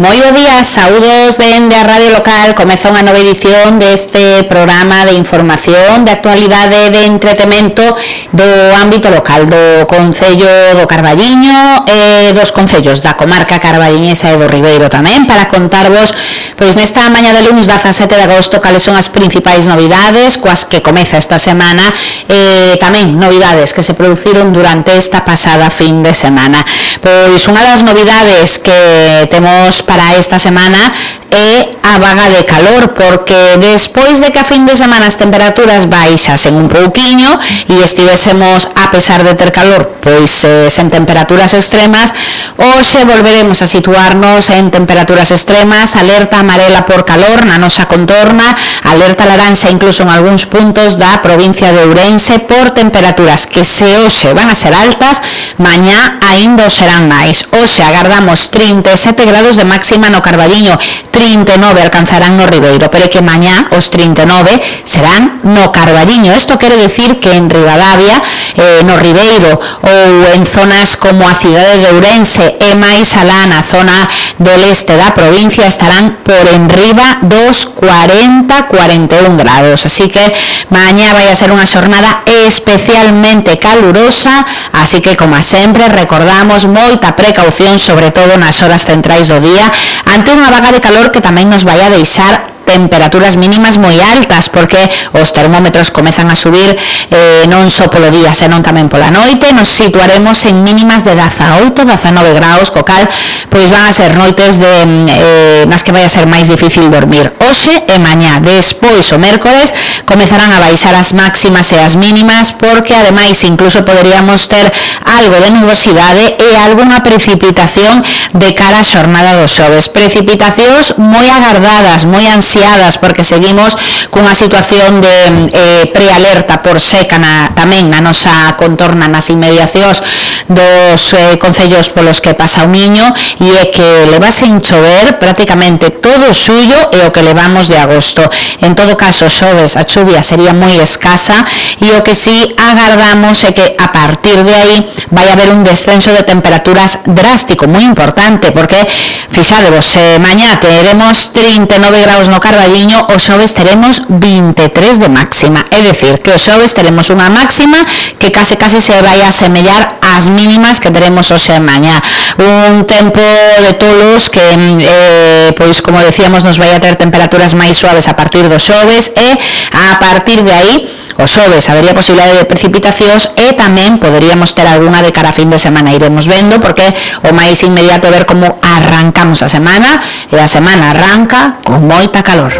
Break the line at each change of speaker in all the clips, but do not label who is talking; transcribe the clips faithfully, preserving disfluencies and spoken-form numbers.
Moi bo día, saúdos dende a Radio Local. Comeza unha nova edición deste programa de información, de actualidade, de entretemento do ámbito local do Concello do Carballiño e dos concellos da comarca carballiñesa e do Ribeiro tamén, para contarvos pois nesta mañá de lunes dezasete de agosto cales son as principais novidades coas que comeza esta semana e tamén novidades que se produciron durante esta pasada fin de semana. Pois unha das novidades que temos para esta semana é a vaga de calor, porque despois de que a fin de semana as temperaturas baixasen un pouquiño e estivésemos, a pesar de ter calor, pois eh, sen temperaturas extremas, hoxe volveremos a situarnos en temperaturas extremas, alerta amarela por calor na nosa contorna, alerta laranxa incluso en algúns puntos da provincia de Ourense por temperaturas que se hoxe van a ser altas, mañá aínda o serán máis. Hoxe agardamos trinta e sete grados de máxima no Carballiño, trinta e nove alcanzarán no Ribeiro, pero é que mañá os trinta e nove serán no Carballiño. Isto quere decir que en Ribadavia, eh, no Ribeiro ou en zonas como a cidade de Ourense e máis alá na zona do leste da provincia estarán por enriba dos cuarenta a cuarenta e un grados, así que mañá vai a ser unha xornada especialmente calurosa, así que como sempre recordamos moita precaución, sobre todo nas horas centrais do día, ante unha vaga de calor que tamén nos vai a deixar temperaturas mínimas moi altas, porque os termómetros comezan a subir eh, non só polo día, senón tamén pola noite. Nos situaremos en mínimas de dezaoito, dezanove graus, co cal pois van a ser noites de, eh, nas que vai a ser máis difícil dormir. Hoxe e mañá, despois o mércores comezarán a baixar as máximas e as mínimas, porque ademais incluso poderíamos ter algo de nubosidade e algunha precipitación de cara a xornada do xoves. Precipitacións moi agardadas, moi ansiadas, porque seguimos cunha situación de eh, prealerta por seca na, tamén na nosa contorna, nas inmediacións dos eh, concellos polos que pasa o Miño, e é que levase en chover prácticamente todo o xullo e o que levamos de agosto. En todo caso, xoves, a chuvia sería moi escasa, e o que sí agardamos é que a partir de aí vai haber un descenso de temperaturas drástico, moi importante, porque fixadevos, eh, mañá teremos trinta e nove graus no Carballiño, o xoves teremos vinte e tres de máxima, é dicir, que o xoves teremos unha máxima que case case se vai a semellar ás mínimas que teremos hoxe e mañá. Un tempo de tolos que, eh, pois como decíamos, nos vai a ter temperaturas máis suaves a partir do xoves, e a partir de aí o xoves habería posibilidade de precipitacións e tamén poderíamos ter algunha de cara a fin de semana. Iremos vendo, porque o máis inmediato é ver como arrancamos a semana, e a semana arranca con moita calor.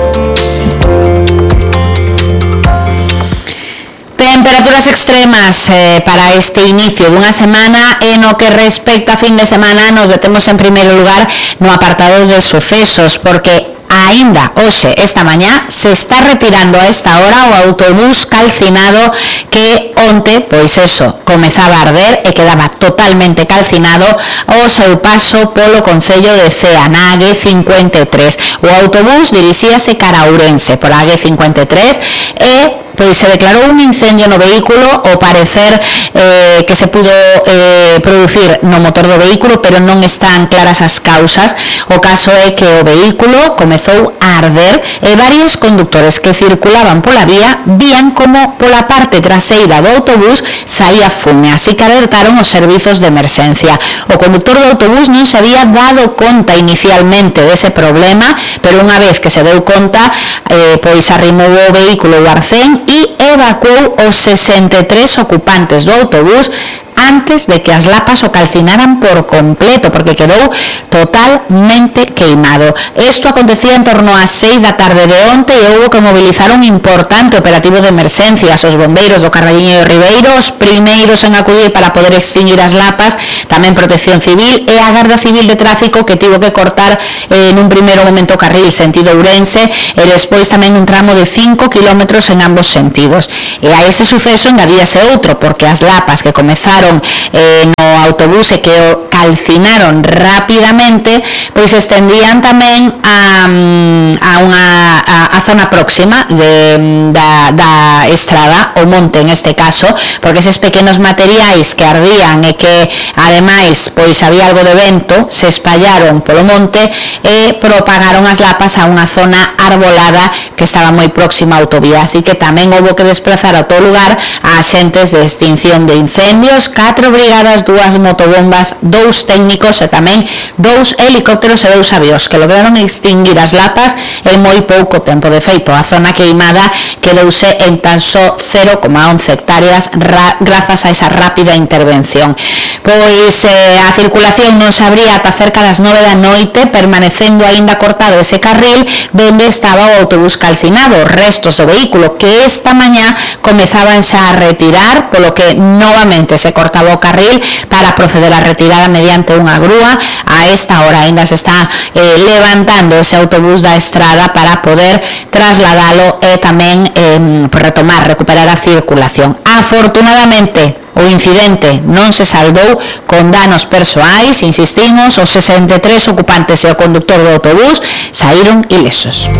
Temperaturas extremas eh, para este inicio dunha semana, e no que respecta a fin de semana nos detemos en primeiro lugar no apartado de sucesos, porque aínda hoxe, esta mañá, se está retirando a esta hora o autobús calcinado que onte, pois eso, comezaba a arder e quedaba totalmente calcinado ao seu paso polo concello de Cea, na A G cincuenta e tres. O autobús dirixíase cara a Ourense pola A G cincuenta e tres e pois se declarou un incendio no vehículo, ao parecer eh, que se pudo eh, producir no motor do vehículo, pero non están claras as causas. O caso é que o vehículo comezou a arder e varios conductores que circulaban pola vía vían como pola parte traseira do autobús saía fume, así que alertaron os servizos de emerxencia. O conductor do autobús non se había dado conta inicialmente dese problema, pero unha vez que se deu conta, eh, pois arrimou o vehículo ao arcén e evacuou os sesenta e tres ocupantes do autobús antes de que as lapas o calcinaran por completo, porque quedou totalmente queimado. Isto acontecía en torno ás seis da tarde de onte e houbo que mobilizar un importante operativo de emerxencias. Os bombeiros do Carballiño e do Ribeiro, os primeiros en acudir para poder extinguir as lapas, tamén Protección Civil e a Garda Civil de Tráfico, que tivo que cortar eh, nun primeiro momento o carril sentido Ourense e despois tamén un tramo de cinco kilómetros en ambos sentidos. E a ese suceso engadíase outro, porque as lapas que comezaron entraron eh, no autobús e que o calcinaron rapidamente, pois estendían tamén a, a unha a, a zona próxima de, da, da estrada, o monte en este caso, porque eses pequenos materiais que ardían e que ademais pois había algo de vento se espallaron polo monte e propagaron as lapas a unha zona arbolada que estaba moi próxima á autovía, así que tamén houve que desplazar a todo lugar a axentes de extinción de incendios, catro brigadas, dúas motobombas, dous técnicos e tamén dous helicópteros e dous avións que lograron extinguir as lapas en moi pouco tempo. De feito, a zona queimada quedouse en tan só cero coma once hectáreas grazas a esa rápida intervención. Pois eh, a circulación non se abría ata cerca das nove da noite, permanecendo aínda cortado ese carril donde estaba o autobús calcinado, restos do vehículo que esta mañá comezaban xa a retirar, polo que novamente se cortaba o carril para proceder á retirada mediante unha grúa. A esta hora aínda se está eh, levantando ese autobús da estrada para poder trasladalo e tamén eh, retomar, recuperar a circulación. Afortunadamente, o incidente non se saldou con danos persoais, insistimos, os sesenta e tres ocupantes e o conductor do autobús saíron ilesos.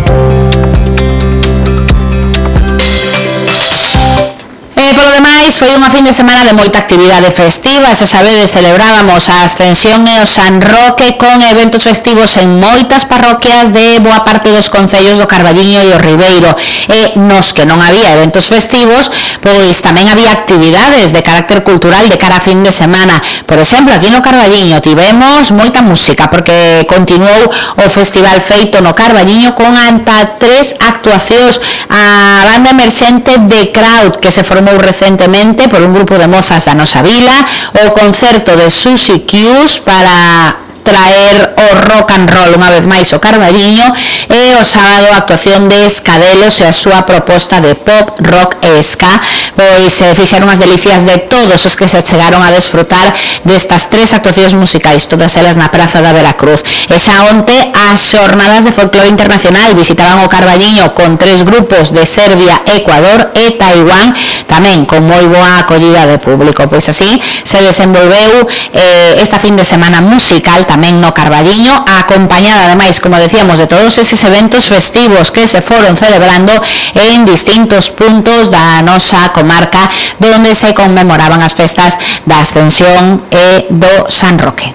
E polo demais, foi unha fin de semana de moita actividade festiva. Xa sabedes, celebrábamos a Ascensión e o San Roque con eventos festivos en moitas parroquias de boa parte dos concellos do Carballiño e o Ribeiro. E nos que non había eventos festivos, pois tamén había actividades de carácter cultural de cara a fin de semana. Por exemplo, aquí no Carballiño tivemos moita música, porque continuou o festival feito no Carballiño con ata tres actuacións. A banda emerxente de Crowd, que se formou recentemente por un grupo de mozas da nosa vila, o concerto de Susi Q's para traer o rock and roll unha vez máis o Carballiño, e o sábado a actuación de Escadelos e a súa proposta de pop, rock e ska. Pois se fixeron as delicias de todos os que se chegaron a desfrutar destas tres actuacións musicais, todas elas na Praza da Veracruz. E xa onte as xornadas de folclore internacional visitaban o Carballiño con tres grupos de Serbia, Ecuador e Taiwán, tamén con moi boa acollida de público. Pois así se desenvolveu eh, esta fin de semana musical tamén no Carballiño, acompañada ademais, como decíamos, de todos eses eventos festivos que se foron celebrando en distintos puntos da nosa comarca donde se conmemoraban as festas da Ascensión e do San Roque.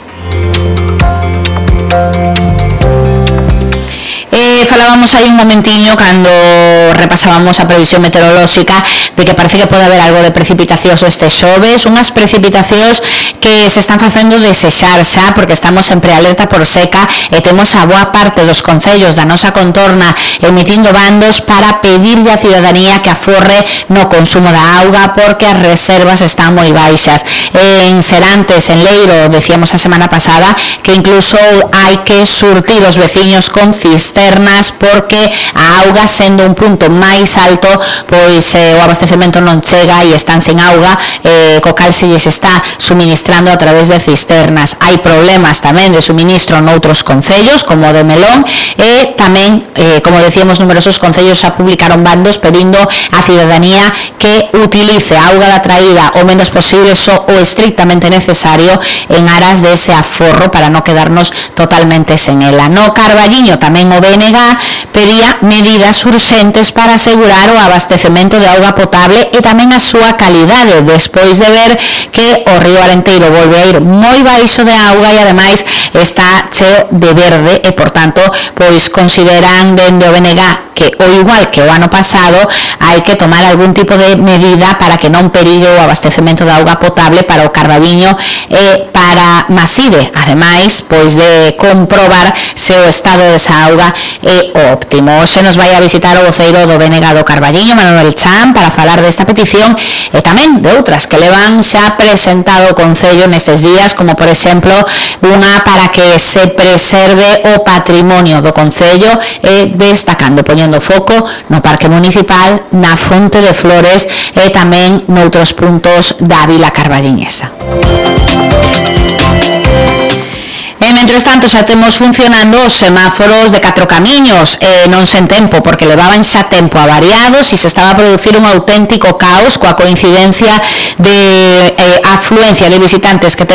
Eh, falábamos aí un momentiño cando repasábamos a previsión meteorolóxica de que parece que pode haber algo de precipitacións este xoves, unhas precipitacións que se están facendo desexar xa, porque estamos en prealerta por seca e temos a boa parte dos concellos da nosa contorna emitindo bandos para pedirlle á cidadanía que aforre no consumo da auga, porque as reservas están moi baixas. En Serantes, en Leiro, decíamos a semana pasada que incluso hai que surtir os veciños con cisternas, porque a auga, sendo un punto máis alto, pois eh, o abastecemento non chega e están sen auga, eh, co cal se lles está suministrando a través de cisternas. Hai problemas tamén de suministro noutros concellos, como o de Melón, e tamén, eh, como decíamos, numerosos concellos xa publicaron bandos pedindo á cidadanía que utilice a auga da traída o menos posible, só o estrictamente necesario, en aras de ese aforro para non quedarnos totalmente sen ela. No Carballiño tamén o B N G pedía medidas urxentes para asegurar o abastecemento de auga potable e tamén a súa calidade, despois de ver que o río Arenteiro volve a ir moi baixo de auga e ademais está cheo de verde e, por tanto, pois consideran dende o B N G que, o igual que o ano pasado, hai que tomar algún tipo de medida para que non perigue o abastecemento de auga potable para o Carballiño e para Maside, ademais pois de comprobar se o estado desa auga é o óptimo. Hoxe nos vai a visitar o voceiro do B N G do Carballiño, Manuel Chan, para falar desta petición e tamén de outras que levan xa presentado o Concello nestes días, como por exemplo unha para que se preserve o patrimonio do Concello e destacando, poñendo foco no Parque Municipal, na Fonte de Flores e tamén noutros puntos da Vila Carballiñesa. E, mentres tanto, xa temos funcionando os semáforos de catro camiños, eh, non sen tempo, porque levaban xa tempo avariados e se estaba a producir un auténtico caos coa coincidencia de eh, afluencia de visitantes que temos